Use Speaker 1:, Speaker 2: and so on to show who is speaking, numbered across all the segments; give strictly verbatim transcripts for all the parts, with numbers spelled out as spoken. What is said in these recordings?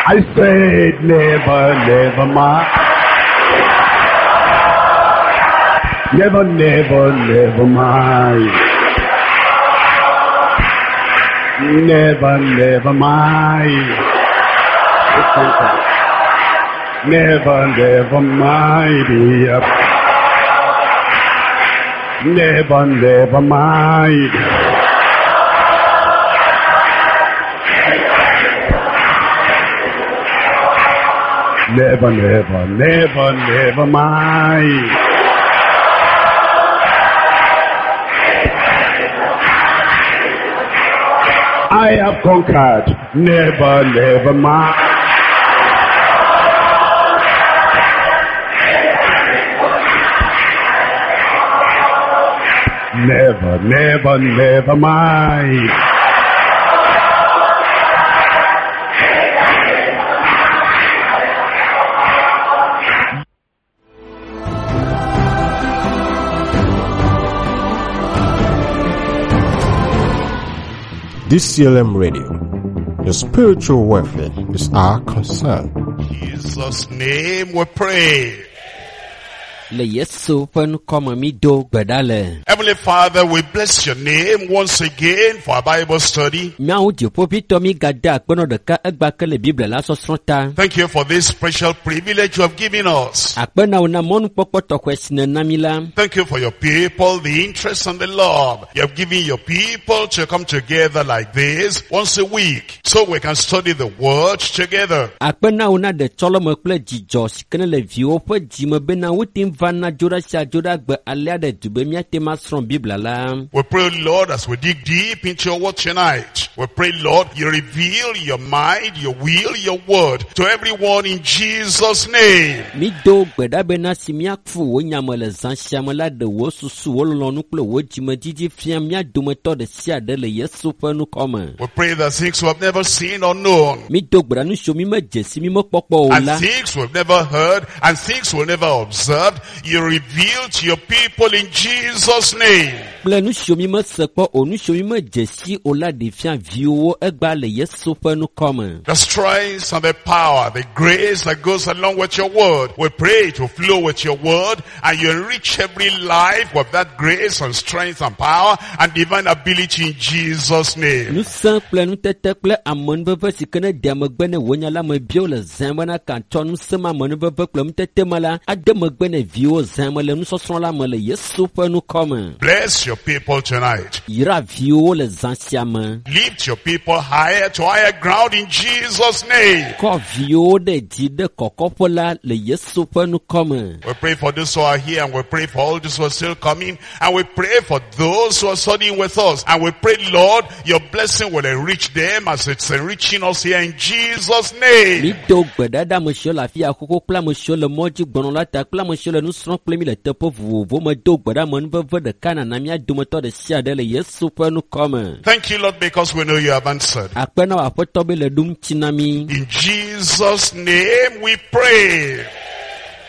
Speaker 1: I said never, never mind. Never, never, never mind. Never, never mind. Never, never mind. Yep. Never, never mind. Never, never, never, never mind. I have conquered. Never, never mind. Never, never, never mind.
Speaker 2: D C L M Radio, your spiritual welfare is our concern.
Speaker 3: In Jesus' name we pray.
Speaker 4: Le Yesu ƒe ŋkɔme mi do gbe ɖa le.
Speaker 3: Heavenly Father, we bless your name once again for our Bible study.
Speaker 4: Míawo dziƒoʋĩtɔ mi gade akpenɔ ɖeka egba ke le Biblia la sɔsrɔ̃ ta.
Speaker 3: Thank you for this special privilege you have given us.
Speaker 4: Akpe na wò na mɔnukpɔkpɔ tɔxɛ si nèna mi la.
Speaker 3: Thank you for your people, the interest and the love you have given your people to come together like this once a week so we can study the word together.
Speaker 4: Akpe na wò na ɖetsɔleme kple dzidzɔ si ke ne le viwo ƒe dzime bena wote ŋu va na dzo ɖa sia dzo ɖa gbe alea ɖe du be míate ŋu asrɔ̃ Biblia la.
Speaker 3: We pray, Lord, as we dig deep into your word tonight, we pray, Lord, you reveal your mind, your will, your word to everyone in Jesus' name.
Speaker 4: Mi do gbe ɖa bena si míafu wò nyame le zã sia me la ɖe wò susu, wò lɔlɔ̃nu kple wò dzimedidi fia mía dometɔ ɖe sia ɖe le Yesu ƒe ŋkɔ me.
Speaker 3: We pray that things we have never seen or known,
Speaker 4: Mi do gbe ɖa nu siwo mi medze si mi mekpɔkpɔ o
Speaker 3: and
Speaker 4: la,
Speaker 3: things we've never heard, and things we've never observed, you reveal to your people in Jesus' name.
Speaker 4: Kple nu siwo mi mese kpɔ o, nu siwo mi medze si o la ɖe fia viwòwo egba le Yesu ƒe ŋkɔ me.
Speaker 3: The strength and the power, the grace that goes along with your word, we pray to flow with your word, and you enrich every life with that grace and strength and power and divine ability in Jesus' name.
Speaker 4: Ŋusẽ kple nutete kple amenuveve si ke ne dea megbe ne wò nya la me bio le zã bena katsɔ ŋusẽ ma amenuveve kple nutete ma la ade megbe ne viwo zã me le nusɔsrɔ̃ la me le Yesu ƒe ŋkɔ me.
Speaker 3: Bless your people tonight.
Speaker 4: Yra viwo le zã sia me.
Speaker 3: Lift your people higher to higher ground in Jesus' name.
Speaker 4: Kɔ viwo ɖe dzi ɖe kɔkɔƒe la le Yesu ƒe ŋkɔ me.
Speaker 3: We pray for those who are here, and we pray for all those who are still coming, and we pray for those who are studying with us, and we pray, Lord, your blessing will enrich them as it's enriching us here in Jesus' name.
Speaker 4: Mi do gbe ɖa ɖe ame siwo le afi ya xoxo kple ame siwo le mɔ dzi gbɔnɔ la ta kple ame siwo le nu srɔ̃m kple mi le teƒe vovovowo me. Do gbe ɖa amenuveve ɖeka nana mía dometɔ ɖe sia ɖe le Yesu ƒe ŋkɔ me.
Speaker 3: Thank you, Lord, because we know you have answered.
Speaker 4: Akpe na wò Aƒetɔ be le ɖum tsi na mi.
Speaker 3: In Jesus' name we pray.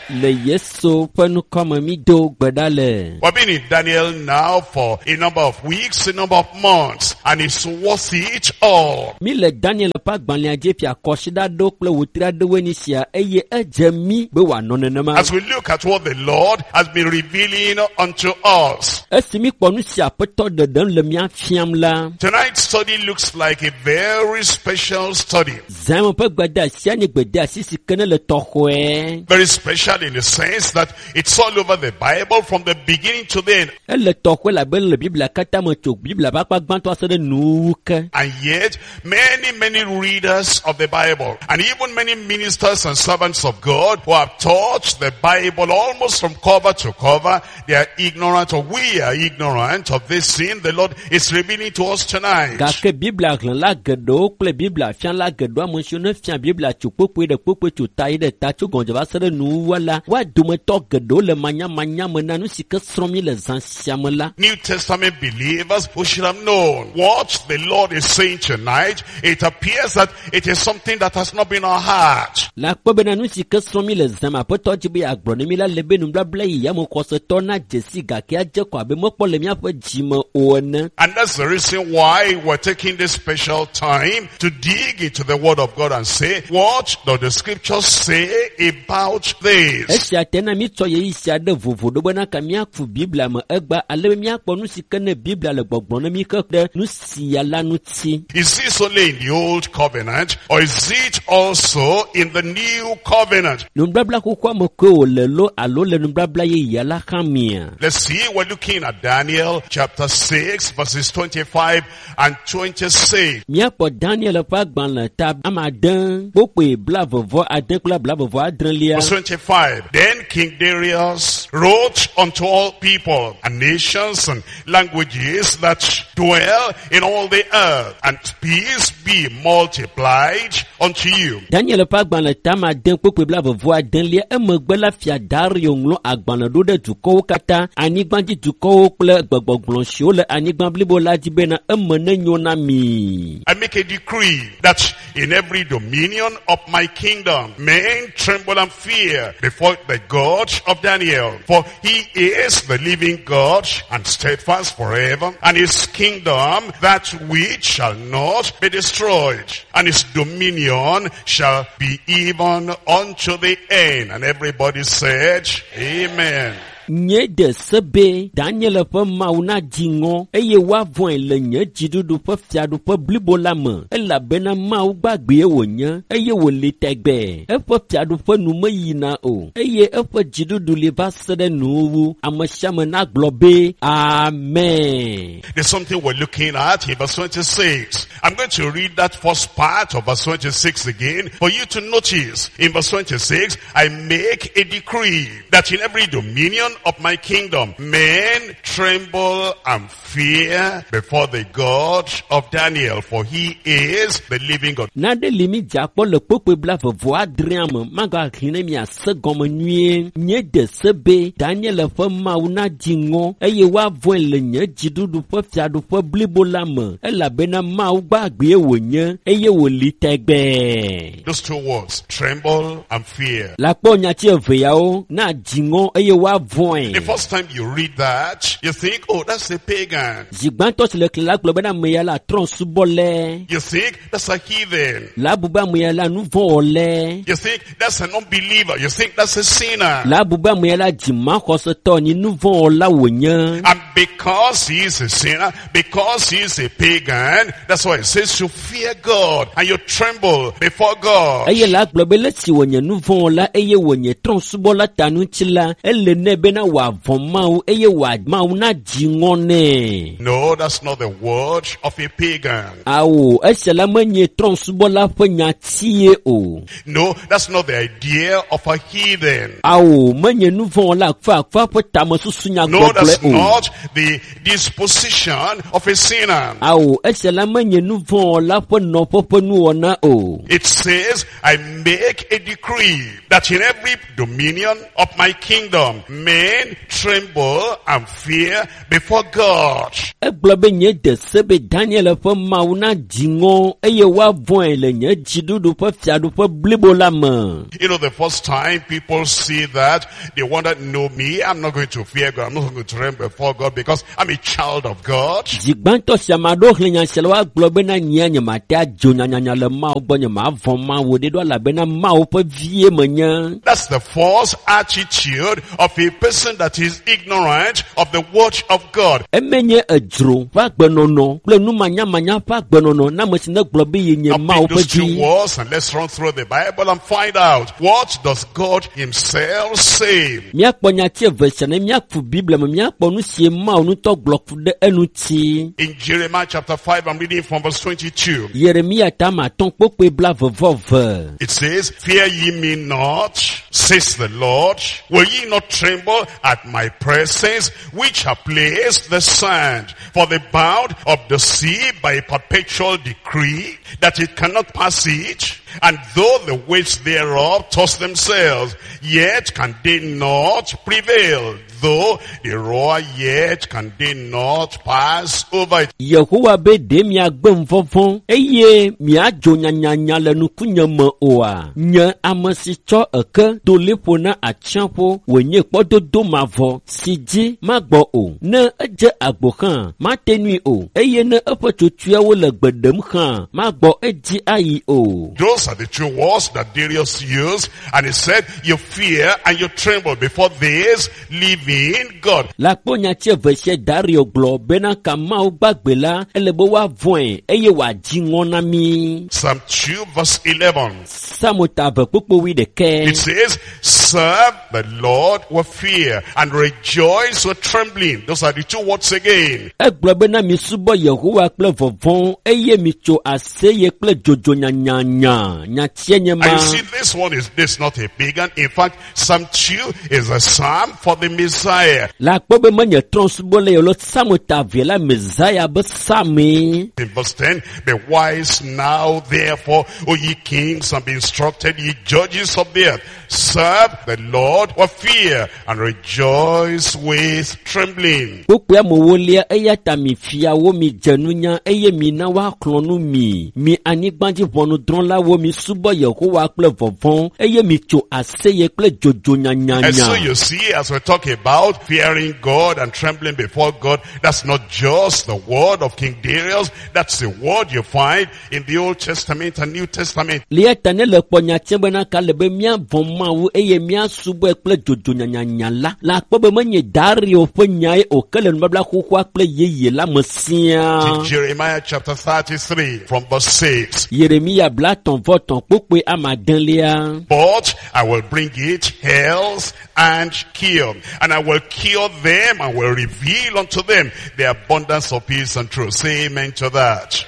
Speaker 4: Le Yesu ƒe ŋkɔ me mi do gbe ɖa le.
Speaker 3: We've been in Daniel now for a number of weeks, a number of months, and it's worth it all.
Speaker 4: Mi le Daniel ƒe agbalẽa dzi fia kɔsiɖa ɖewo kple wòtri aɖewoe nye sia eye edze mi be wòanɔ nenema.
Speaker 3: As we look at what the Lord has been revealing unto us.
Speaker 4: Esi mi kpɔ nu si Aƒetɔ ɖeɖem le mía fiam la,
Speaker 3: Tonight's study looks like a very special study.
Speaker 4: Zã me ƒe gbedeasia nye gbedeasi si ke ne le tɔxɔe.
Speaker 3: Very special in the sense that it's all over the Bible from the beginning to the end.
Speaker 4: Ele tɔxɔe labe le Biblia katã me tso Biblia ƒe akpa gbãtɔ se ɖe nuwuwu ke.
Speaker 3: And yet, many, many readers of the Bible, and even many ministers and servants of God who have taught the Bible almost from cover to cover, they are ignorant, or we are ignorant of this sin the Lord is revealing to us tonight.
Speaker 4: Gake Biblia xlẽla geɖewo kple Biblia fiala geɖewo, ame siwo ne fia Biblia tso kpokpoe ɖe kpokpoe tso ta yi ɖe ta tso gɔmedze va se ɖe nuwuwua la woa dometɔ geɖewo le manyamanya me na nu si ke srɔ̃m mi le zã sia me la
Speaker 3: New Testament believers who should have known what the Lord is saying tonight. It appears that it is something that has not been our heart.
Speaker 4: Le akpɔ bena nu si ke srɔ̃m mi le zã me aƒetɔ dzi be yeagblɔ ne mi la le be nubabla yi ya me xɔsetɔ na dzesi gake adze kɔ abe mekpɔ le míaƒe dzime o ene
Speaker 3: And that's the reason why we're taking this special time to dig into the Word of God and say, what does the scriptures say about this?
Speaker 4: Esia te na mítsɔ ɣeyiɣi sia ɖe vovo ɖo bena ka míaku biblia me egba ale be míakpɔ nu si ke ne biblia le gbɔgblɔm ne mí ke ɖe nu sia la ŋuti
Speaker 3: Is this only in the old covenant or is it also in the new covenant?
Speaker 4: Nubabla xoxoa me koe wòle lo alo le nubabla yeyea la hã mea
Speaker 3: Let's see, we're looking at Daniel chapter six verses twenty-five and twenty-six.
Speaker 4: Míakpɔ Daniel ƒe agbalẽ ta ame ade kpokpoe blavevɔ ade kple blavevɔ adrelia
Speaker 3: Verse twenty-five. Then King Darius wrote unto all people and nations and languages that dwell in all the earth, and peace be multiplied unto you.
Speaker 4: Daniel ƒe agbalẽ ta ame ade kpokpoe blavevɔ adelia emegbe la fia Dario ŋlɔ agbalẽ ɖo ɖe dukɔwo katã anyigbadzi dukɔwo kple gbegbɔgblɔ siwo le anyigba blibo la dzi bena eme nenyo na mi.
Speaker 3: I make a decree that in every dominion of my kingdom, men tremble and fear before the God of Daniel. For he is the living God and steadfast forever, and his kingdom that which shall not be destroyed, and his dominion shall be even unto the end. And everybody said, Amen.
Speaker 4: Nye de se be Daniel ƒe Mawu nadzi ŋɔ eye woavɔ̃e le nye dziɖuɖu ƒe fiaɖuƒe blibo la me elabena Mawu gbagbee wònye eye wòli tɛgbɛɛ. Eƒe fiaɖuƒe nu meyina o eye eƒe dziɖuɖu li va se ɖe nuwuwu. Ame sia ame nagblɔ be Amen.
Speaker 3: There's something we're looking at in verse twenty-six. I'm going to read that first part of verse twenty-six again for you to notice. In verse twenty-six, I make a decree that in every dominion of my kingdom, men tremble and fear before the God of Daniel, for he is the living God.
Speaker 4: Nane li mi dze akpɔ le kpokpoe blavevɔ adrea me magaxlẽ ne miase gɔme nyuie. Nye de se be Daniel ƒe Mawu nadzi ŋɔ eye woavɔ̃e le nye dziɖuɖu ƒe fiaɖuƒe blibo la me elabena Mawu gbagbee wònye eye wòli tɛgbɛɛ.
Speaker 3: Those two words, tremble and fear.
Speaker 4: Le akpɔ nyati eve yawo nadzi ŋɔ eye woavɔ̃e.
Speaker 3: The first time you read that, you think, oh, that's a pagan.
Speaker 4: Zi gbãtɔ si le xlẽ la gblɔ bena ame ya la trɔ̃subɔlɛ.
Speaker 3: You think that's a heathen.
Speaker 4: La bu be ame ya la nuvɔ̃wɔlɛ.
Speaker 3: You think that's an unbeliever. You think that's a sinner.
Speaker 4: La bu be ame ya la dzimaxɔsetɔ nyi nuvɔ̃wɔla wònye.
Speaker 3: And because he is a sinner, because he is a pagan, that's why it says you fear God and you tremble before God.
Speaker 4: Eye la gblɔ be le si wònye nuvɔ̃wɔla eye wònye trɔ̃subɔla ta ŋuti la, ele nɛ bena wòavɔ̃ Mawu eye wòa Mawu nadzi ŋɔ nɛ.
Speaker 3: No, that's not the word of a pagan.
Speaker 4: Awo, esia la menye trɔ̃subɔla ƒe nyatie o.
Speaker 3: No, that's not the idea of a heathen.
Speaker 4: Awo, menye nuvɔ̃wɔla akfaakfa ƒe tamesusu
Speaker 3: No,
Speaker 4: nyagbɔgblɔe
Speaker 3: that's
Speaker 4: o.
Speaker 3: not the disposition of a sinner.
Speaker 4: Awo, esia la menye nuvɔ̃wɔla ƒe nɔƒe ƒe nuwɔna o.
Speaker 3: It says, I make a decree that in every dominion of my kingdom, men tremble and fear before God.
Speaker 4: Egblɔ be nye de se be Daniel ƒe Mawu nadzi ŋɔ eye woavɔ̃e le nye dziɖuɖu ƒe fiaɖuƒe blibo la me.
Speaker 3: You know, the first time people see that, they wonder, no, me, I'm not going to fear God. I'm not going to tremble before God because I'm a child of God.
Speaker 4: Zi gbãtɔ si ame aɖewo xlẽ nya sia la, woagblɔ bena nyea nyemate adzo nyanyanya le Mawu gbɔ, nyemavɔ̃ Mawu ɖe ɖo elabena Mawu ƒe vie menye.
Speaker 3: That's the false attitude of a person that is ignorant of the word of God.
Speaker 4: Eme nye edzro ƒe agbenɔnɔ kple numanyamanya ƒe agbenɔnɔ na ame si ne gblɔ be yenye
Speaker 3: Now
Speaker 4: Mawu
Speaker 3: pick
Speaker 4: ƒe
Speaker 3: those two
Speaker 4: vi.
Speaker 3: words and let's run through the Bible and find out what does God himself say.
Speaker 4: Míakpɔ nyati eve sia ne míaku Biblia me míakpɔ nu si Mawu ŋutɔ gblɔ ku ɖe eŋuti.
Speaker 3: In Jeremiah chapter five, I'm reading from verse twenty-two.
Speaker 4: Yeremia ta ame atɔ̃ kpokpoe blavevɔ ve.
Speaker 3: It says, fear ye me not, says the Lord. Will ye not tremble at my presence, which have placed the sand for the bound of the sea by a perpetual decree, that it cannot pass it, And though the waves thereof toss themselves, yet can they not prevail. Though they roar, yet can they not pass over it.
Speaker 4: Yehowa be ɖe miagbe vɔvɔ̃ eye miadzo nyanyanya le nukunye me oa? Nye ame si tsɔ eke do liƒo na atsiaƒu wònye kpɔdodo mavɔ si dzi magbɔ o. Ne edze agbo hã, mate nui o eye ne eƒe tsotsoeawo le gbe ɖem hã, magbɔ edzi ayi o.
Speaker 3: Those are the two words that Darius used. And he said, you fear and you tremble before this living God.
Speaker 4: Le akpɔ nyati eve sia Dario gblɔ bena ka Mawu gbagbe la, ele be woavɔ̃e eye wòadzi ŋɔ na mí.
Speaker 3: Psalm two verse eleven.
Speaker 4: Psalm ta eve kpukpui wuiɖekɛ.
Speaker 3: It says, serve the Lord with fear and rejoice with trembling. Those are the two words again.
Speaker 4: Egblɔ bena misubɔ Yehowa kple vɔvɔ̃ eye mitso aseye kple dzodzo nyanyanya. Nyatia nye ma.
Speaker 3: And you see, this one is this not a pagan. In fact, Psalm two is a psalm for the Messiah.
Speaker 4: Le akpɔ be menye trɔ̃subɔla ye o, Psalm ta eve la Messiah be psalmee.
Speaker 3: In verse ten, be wise now, therefore, O ye kings, and be instructed, ye judges of the earth. Serve the Lord with fear and rejoice with trembling.
Speaker 4: Kpukpui amewolia eya ta mi fiawo mi dze nunya eye mi na woaxlɔ̃ nu mi. Mi anyigbadzi ʋɔnudrɔ̃lawo mi subɔ Yehowa kple vɔvɔ̃ eye mi tso aseye kple dzodzo
Speaker 3: And so
Speaker 4: nyanyanya.
Speaker 3: you see, as we talk about fearing God and trembling before God, that's not just the word of King Darius, that's the word you find in the Old Testament and New Testament.
Speaker 4: Le eya ta ne le kpɔ nyatia bena ka le be míavɔ̃ Mawu eye míasubɔe kple dzodzo nyanyanya la, le akpɔ be menye Dario ƒe nyae o ke le nubabla xoxoa kple yeye la me siaa.
Speaker 3: Jeremiah chapter thirty-three from verse six.
Speaker 4: Yeremia blatɔ̃ vɔ tɔ̃ kpukpui ame adelia.
Speaker 3: But I will bring it health and cure, and I will cure them and will reveal unto them the abundance of peace and truth. Say amen to that.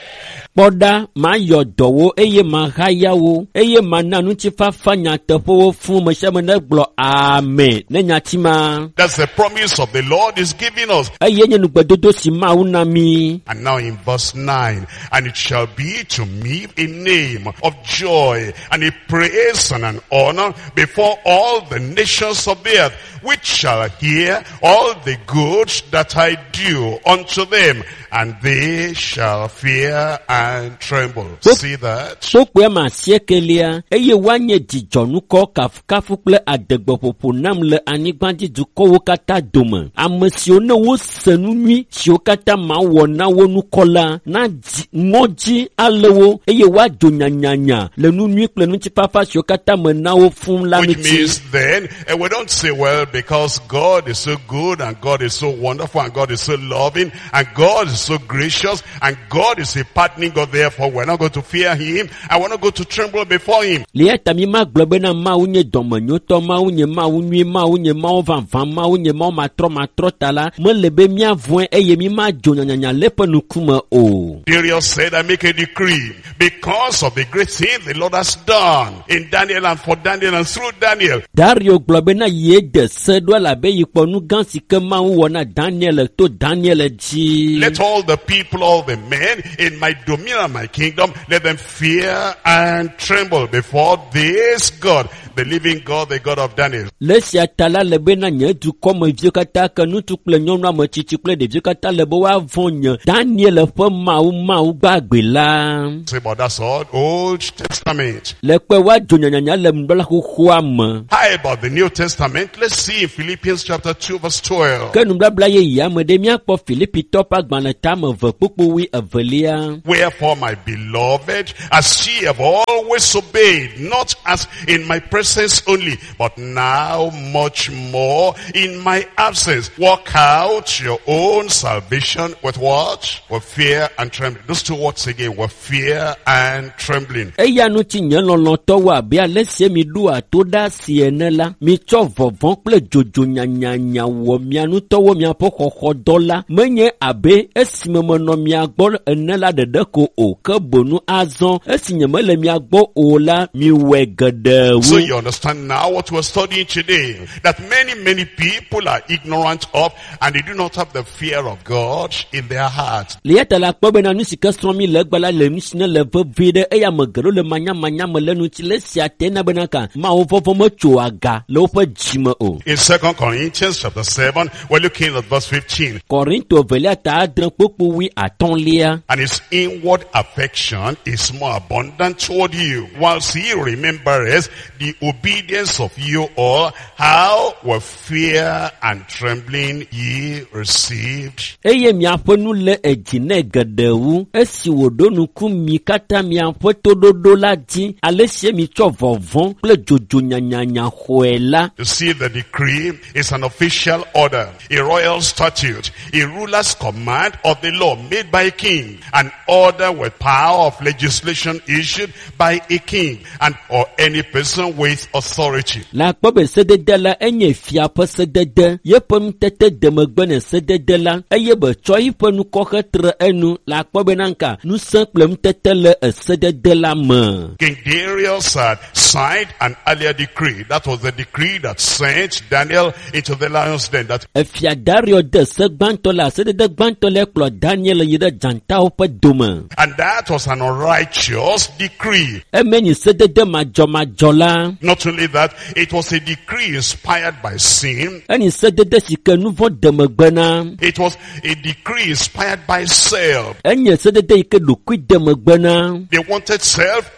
Speaker 4: Kpɔ ɖa, mayɔ dɔwo eye mahaya wo eye mana ŋutifafa nyateƒewo fũ me sia me negblɔ amen ne nyati ma.
Speaker 3: That's the promise of the Lord is giving us.
Speaker 4: Eye nye nugbedodo si Mawu na mí.
Speaker 3: And now in verse nine, and it shall be to me a name of joy and a praise and an honor before all the nations of the earth, which shall hear all the good that I do unto them, and they shall fear and tremble. See that?
Speaker 4: Kpukpui ame asiekelia eye woanye dzidzɔnukɔ kafukafu kple adegbeƒoƒo nam le anyigbadzi dukɔwo katã dome. Ame siwo ne wose nu nyui siwo katã mawɔ na wo nukɔ la, na dzi ŋɔdzi alé wo eye woadzo nyanyanya le nu nyui kple ŋutifafa siwo katã me na wo fũu la
Speaker 3: Which
Speaker 4: ŋuti.
Speaker 3: means then, and we don't say, well, because God is so good and God is so wonderful and God is so loving and God is so gracious and God is a pardoning God, therefore we're not going to fear him and we're not going to tremble before him.
Speaker 4: Le eya ta mi magblɔ bena Mawu nye dɔmenyotɔ, Mawu nye Mawu nyui, Mawu nye Mawu vavã, Mawu nye Mawu matrɔmatrɔ ta la, mele be míavɔ̃e eye mi madzo nyanyanya le eƒe ŋkume o.
Speaker 3: Darius said, I make a decree because of the great thing the Lord has done in Daniel and for Daniel and through Daniel.
Speaker 4: Dario gblɔ bena ye de se ɖo elabe yi kpɔ nu gã si ke Mawu wɔ na Daniel to Daniel dzi.
Speaker 3: Let all the people, all the men in my dominion and my kingdom, let them fear and tremble before this God, the living God, the God of Daniel.
Speaker 4: Le esia ta la le bena nye dukɔmeviwo katã ke ŋutsu kple nyɔnu ametsitsi kple ɖeviwo katã le be woavɔ̃ nye Daniel ƒe Mawu Mawu gbagbe la.
Speaker 3: Say, but that's all Old Testament.
Speaker 4: Le kpe woadzo nyanyanya le nubabla xoxoa me.
Speaker 3: How about the New Testament? Let's see in Philippians chapter two verse twelve.
Speaker 4: Ke nubabla yeyea me ɖe míakpɔ Filipitɔ ƒe agbalẽ tame eve kpukpui wui evelia.
Speaker 3: Wherefore, my beloved, as ye have always obeyed, not as in my presence only, but now much more in my absence, work out your own salvation with what? With fear and trembling. Those two words again, with fear and trembling.
Speaker 4: Eya ŋuti nye lɔlɔ̃tɔwo abe ale sie mi ɖoa to ɖe asi ene la, mitsɔ vɔvɔ̃ kple dzodzo nyanyanya wɔ mia ŋutɔwo miaƒe xɔxɔdɔ la, menye abe esime menɔ mia gbɔ ene la ɖeɖe ko o, ke boŋu azɔ esi nyemele mia gbɔ o la, miwɔe geɖe
Speaker 3: So
Speaker 4: wu.
Speaker 3: your you understand now what we're studying today. That many, many people are ignorant of and they do not have the fear of God in their heart.
Speaker 4: Le ya ta la kpɔ bena nu si ke srɔ̃m mi le egbe la le nu si ne le vevie ɖe eye ame geɖewo le manyamanya me le nu ŋuti le esia te na bena ka Mawu vɔvɔ̃ metso aga le woƒe dzime o.
Speaker 3: In Second Corinthians chapter seven, we're looking at verse fifteen.
Speaker 4: Korinto evelia ta adre kpukpui wui atɔ̃lia.
Speaker 3: And his inward affection is more abundant toward you, whilst he remembereth the obedience of you all, how with fear and trembling ye received.
Speaker 4: Eye miaƒe nu le edzi nɛ geɖe wu esi wòɖo ŋku mi katã miaƒe toɖoɖo la dzi ale si mitsɔ vɔvɔ̃ kple dzodzo nyanyanya xɔe la.
Speaker 3: You see, the decree is an official order, a royal statute, a ruler's command of the law made by a king, an order with power of legislation issued by a king and or any person with authority.
Speaker 4: Le akpɔ be sedede la enye fia ƒe sedede, yeƒe nutete de megbe ne sedede la eye be tsɔ yiƒe nukɔxe tre enu le akpɔ bena nka ŋusẽ kple nutete le esedede la me.
Speaker 3: King Darius had signed an earlier decree. That was the decree that sent Daniel into the lion's den. That
Speaker 4: Efia Dario de se gbãtɔ la sedede gbãtɔ la kplɔ Daniel yi ɖe dzatawo ƒe dome.
Speaker 3: And that was an unrighteous decree.
Speaker 4: Eme nyi sedede madzɔmadzɔ la.
Speaker 3: Not only that, it was a decree inspired by sin.
Speaker 4: Enyi sedede si ke nu vɔ̃ de megbe na.
Speaker 3: It was a decree inspired by self.
Speaker 4: Enye sedede yi ke ɖokui de megbe na.
Speaker 3: They wanted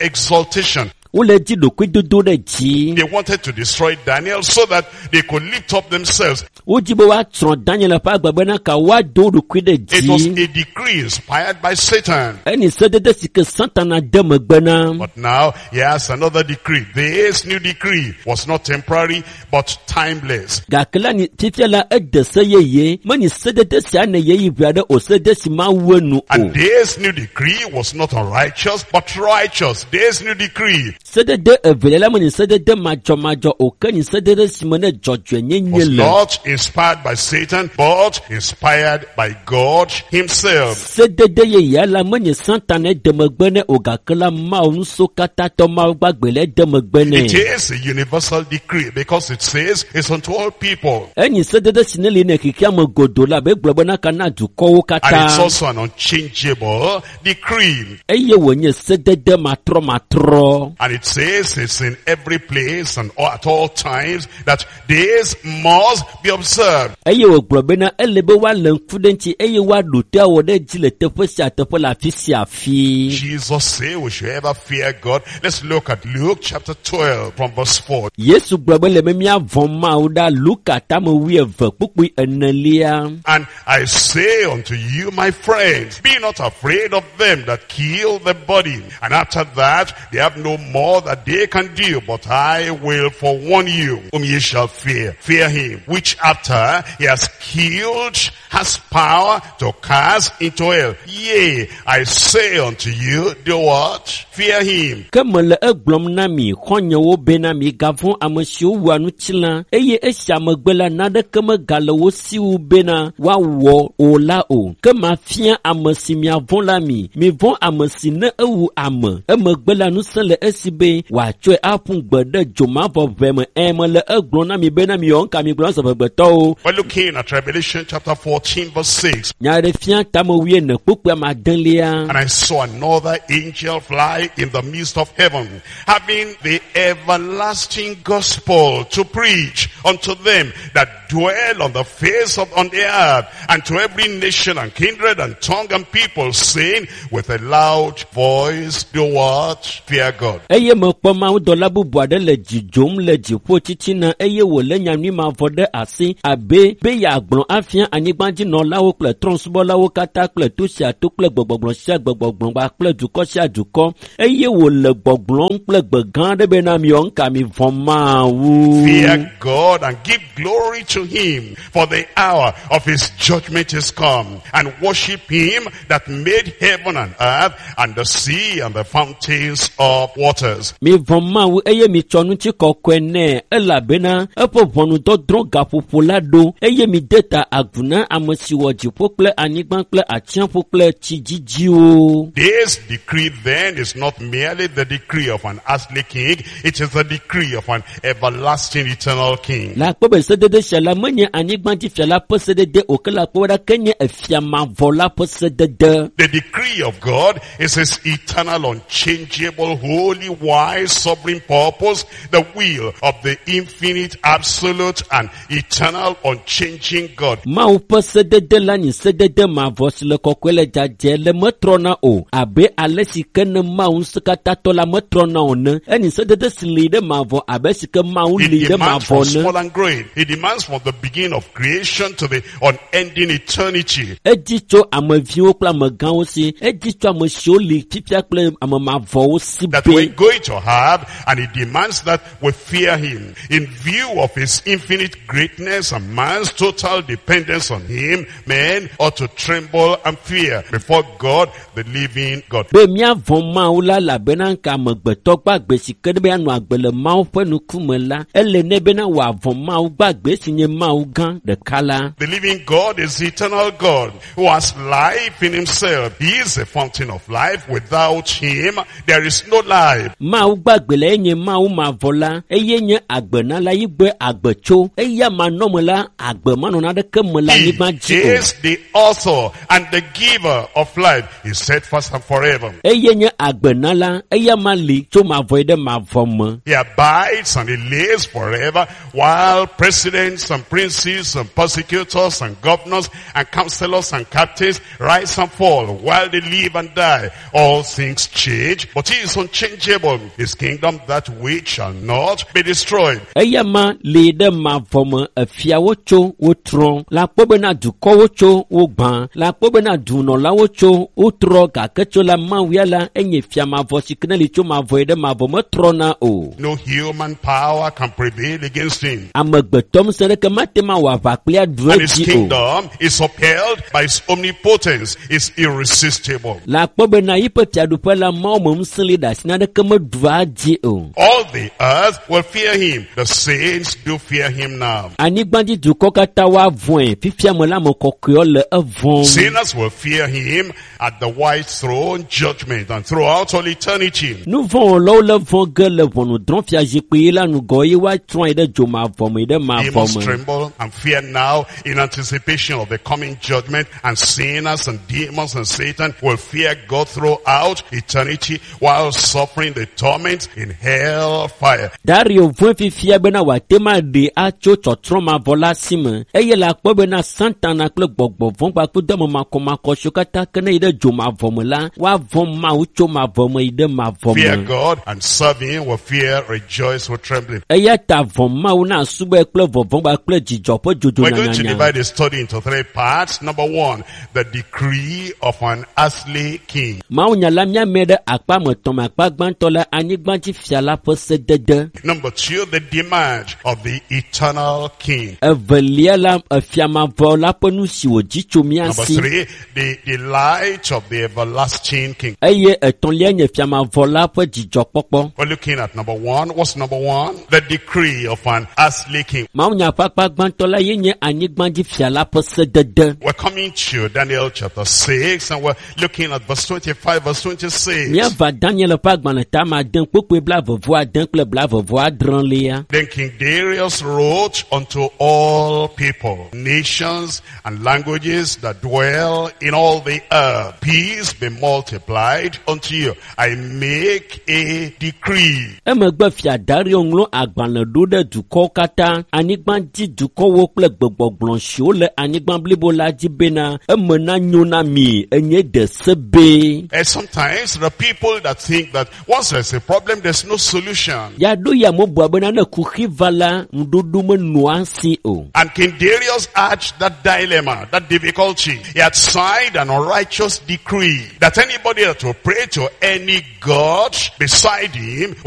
Speaker 3: self-exaltation.
Speaker 4: Wole dzi ɖokuidodo ɖe dzi.
Speaker 3: They wanted to destroy Daniel so that they could lift up themselves.
Speaker 4: Wodzi be woatsrɔ̃ Daniel ƒe agbe bena ka woado wo ɖokui ɖe
Speaker 3: It was
Speaker 4: dzi.
Speaker 3: a decree inspired by Satan.
Speaker 4: Enyi sedede si ke Satana de megbe na.
Speaker 3: But now he has another decree. This new decree was not temporary but timeless.
Speaker 4: Gake la ni fifia la ede se yeye. Menyi sedede sia ne yeyi ʋe aɖe o sedede si mawu enu o.
Speaker 3: And this new decree was not unrighteous but righteous. This new decree
Speaker 4: Sedede evelia la menyi sedede madzɔmadzɔ o ke nyi sedede si me ne dzɔdzɔenyenye
Speaker 3: was
Speaker 4: le.
Speaker 3: not inspired by Satan but inspired by God himself.
Speaker 4: Sedede yeyea la menye Satana de megbe nɛ o gake la Mawu ŋusẽkatãtɔ Mawu gbagbe le de megbe
Speaker 3: It
Speaker 4: nɛ.
Speaker 3: is a universal decree because it says it's unto all people.
Speaker 4: Enyi sedede si ne li ne xexea me godoo la be egblɔ bena ka na dukɔwo
Speaker 3: And it's
Speaker 4: katã.
Speaker 3: also an unchangeable decree.
Speaker 4: Eye wònye sedede matrɔmatrɔ.
Speaker 3: And it says it's in every place and all- at all times that this must be observed.
Speaker 4: Eye wògblɔ bena ele be woalé ŋku ɖe ŋuti eye woaɖo to awɔ ɖe edzi le teƒe sia teƒe le afi sia afi.
Speaker 3: Jesus said we should ever fear God. Let's look at Luke chapter twelve from verse four.
Speaker 4: Yesu gblɔ be le be míavɔ̃ Mawu ɖa Luka tame wuieve kpukpui enelia.
Speaker 3: And I say unto you, my friends, be not afraid of them that kill the body. And after that, they have no more that they can do. But I will forewarn you, whom ye shall fear. Fear him, which after he has killed, has power to cast into hell. Yea, I say unto you, do what? Fear him.
Speaker 4: Ke mele egblɔm na mi xɔ̃nyewo bena migavɔ̃ ame siwo wua ŋutilã eye esia megbe la naneke megale wo si wu bena woawɔ o la o. Ke mafia ame si miavɔ̃ la mi. Mivɔ̃ ame si ne ewu ame. Emegbe la ŋusẽ le esi be wòatsɔe aƒu gbe ɖe dzomavɔʋe me. Ẽ mele egblɔm na mi bena miyɔ ŋka mi gblɔ zɔgbetɔwo.
Speaker 3: We're looking at Revelation chapter fourteen verse six.
Speaker 4: Nyaɖeɖefia tame wuiene kpukpui ame adelia.
Speaker 3: And I saw another angel fly in the midst of heaven, having the everlasting gospel to preach unto them that dwell on the face of on the earth, and to every nation and kindred and tongue and people, saying with a loud voice, do what? Fear God.
Speaker 4: Eye mekpɔ mawudɔla bubu aɖe le dzidzom le dziƒo titina eye wòlé nyanyui mavɔ ɖe asi abe be yeagblɔ afia anyigbadzinɔlawo kple trɔ̃subɔlawo katã kple to sia to kple gbegbɔgblɔ sia gbegbɔgblɔ kpakple dukɔ sia dukɔ eye wòle gbɔgblɔm kple gbe gã aɖe bena miwɔ ŋka mi vɔ̃ Mawu.
Speaker 3: Fear God and give glory to him, for the hour of his judgment is come. And worship him that made heaven and earth and the sea and the fountains of waters.
Speaker 4: Mi vɔ̃ Mawu eye mitsɔ ŋutikɔkɔe nɛ elabena eƒe ʋɔnudɔdrɔ̃ gaƒoƒo la ɖo eye mide ta agu na ame si wɔ dziƒo kple anyigba kple atsiaƒu kple tsi dzidziwo.
Speaker 3: This decree then is not merely the decree of an earthly king, it is the decree of an everlasting eternal king.
Speaker 4: Le akpɔ be sedede sia la menye anyigbadzifia la ƒe sedede o ke le akpɔ be ɖa ke nye efia mavɔ la ƒe sedede.
Speaker 3: The decree of God is his eternal, unchangeable, holy, wise, sovereign purpose, the will of the infinite, absolute, and eternal, unchanging God.
Speaker 4: Mawu ƒe sedede la nye sedede mavɔ si le kɔkɔe le dzadzɛ le metrɔna o abe ale si ke ne Mawu ŋusẽkatãtɔ la metrɔna o ne. Enye sedede si li ɖe mavɔ abe si ke Mawu
Speaker 3: It
Speaker 4: li ɖe
Speaker 3: demands
Speaker 4: mavɔ
Speaker 3: from
Speaker 4: ne.
Speaker 3: small and great. It demands from the beginning of creation to the unending eternity.
Speaker 4: Edzi tso ameviwo kple amegãwo si. Edzi tso ame siwo li fifia kple ame mavɔwo si
Speaker 3: That we're
Speaker 4: be.
Speaker 3: going to have, and it demands that we fear him. In view of his infinite greatness and man's total dependence on him, men ought to tremble and fear before God, the living God.
Speaker 4: Be míavɔ̃ Mawu la elabena ŋka amegbetɔ gbagbe si ke ɖe be anɔ agbe le Mawu ƒe ŋkume la, ele nɛ bena wòavɔ̃ Mawu gbagbe si nye Mawu gã ɖeka la.
Speaker 3: The living God is the eternal God who has life in himself. He is the fountain of life. Without him, there is no life.
Speaker 4: Mawu gbagbe la enye Mawu mavɔ la, eye nye agbe na la yi gbe agbe tso. Eya manɔme la, agbe manɔ naneke me le
Speaker 3: He
Speaker 4: anyigba dzi o.
Speaker 3: is the author and the giver of life. He said first and forever.
Speaker 4: Eye nye agbe na la, eya ma li tso mavɔ yi ɖe mavɔ me.
Speaker 3: He abides and he lives forever while presidents and princes and persecutors and governors and counselors and captains rise and fall while they live and die. All things change, but he is unchangeable. His kingdom that which shall not be destroyed.
Speaker 4: Eya ma li ɖe mavɔ me, efiawo tso wotrɔ. Le akpɔ bena dukɔwo tso wogbã. Le akpɔ bena dunɔlawo tso wotrɔ gake tso la Mawu ya la enye fia mavɔ si ke ne li tso mavɔ yi ɖe mavɔ metrɔna o.
Speaker 3: No human power can prevail against him.
Speaker 4: Amegbetɔ ŋusẽ ɖeke mate ŋu awɔ aʋa kple aɖu
Speaker 3: And his
Speaker 4: edzi o.
Speaker 3: kingdom is upheld by his omnipotence, is irresistible.
Speaker 4: Le akpɔ bena yiƒe fiaɖuƒe la Mawu me ŋusẽ li ɖe asi naneke meɖua dzi o.
Speaker 3: All the earth will fear him. The saints do fear him now.
Speaker 4: Anyigbadzi dukɔ katã woavɔ̃e. Fifia me la ame kɔkɔewo le evɔ̃m.
Speaker 3: Sinners will fear him at the white throne judgment and throughout all eternity.
Speaker 4: Nu vɔ̃wɔlawo le vɔ̃ ge le ʋɔnudrɔ̃fiazikpui la ŋgɔ eye woatrɔ yi ɖe dzomavɔ me yi ɖe mavɔ
Speaker 3: Demons
Speaker 4: me.
Speaker 3: tremble and fear now in anticipation of the coming judgment, and sinners and demons and Satan will fear God throughout eternity while suffering the torment in hell fire.
Speaker 4: Dario vɔ̃e fifia bena wòate ŋu aɖee atso tsɔtsrɔ̃ mavɔ la si me eye le akpɔ bena Satana kple gbɔgbɔ vɔ̃ kpakple dɔme makɔmakɔ siwo katã ke ne yi ɖe dzomavɔ me la woavɔ̃ Mawu tso mavɔ me yi ɖe mavɔ
Speaker 3: Fear
Speaker 4: me.
Speaker 3: God and serve him with fear, rejoice with trembling.
Speaker 4: Eya ta vɔ̃ Mawu na asubɔe kple vɔvɔ̃ kpakple dzidzɔ ƒe dzodzo
Speaker 3: We're going to
Speaker 4: nyanyanya.
Speaker 3: divide the study into three parts. Number one, the decree of an earthly king.
Speaker 4: Mawunya la míame ɖe akpa me tɔ̃ me akpa gbãtɔ la anyigbadzi fia la ƒe sedede.
Speaker 3: Number two, the demand of the eternal king.
Speaker 4: Evelia la efia mavɔ la ƒe nu si wòdzi tso mía
Speaker 3: Number
Speaker 4: si.
Speaker 3: three, the delight of the everlasting king.
Speaker 4: Eye etɔ̃lia nye fia mavɔ la ƒe dzidzɔkpɔkpɔ.
Speaker 3: We're looking at number one. What's number one? The decree of an earthly king.
Speaker 4: Mawunya ƒe akpa gbãtɔ la ye nye anyigbadzi fia la ƒe sedede.
Speaker 3: We're coming to Daniel chapter six and we're looking at verse twenty-five, verse twenty-six.
Speaker 4: Míava Daniel ƒe agbalẽ tame ade kpukpui blaeve vɔ ade kple blaeve vɔ adrelia.
Speaker 3: Then King Darius wrote unto all people, nations and languages that dwell in all the earth, peace be multiplied unto you. I make a decree.
Speaker 4: Emegbe fia Dario ŋlɔ agbalẽ ɖo ɖe dukɔwo katã, anyigbadzi dukɔwo kple gbegbɔgblɔ siwo le anyigba blibo la dzi bena eme nanyo na mi enye de se be.
Speaker 3: And sometimes the people that think that once there's a problem, there's no solution.
Speaker 4: Yaɖo ya mebua bena ne kuxi va la, ŋuɖoɖo menɔa si o.
Speaker 3: And King Darius urged that dilemma, that difficulty. He had signed an unrighteous decree that anybody that will pray to any god beside him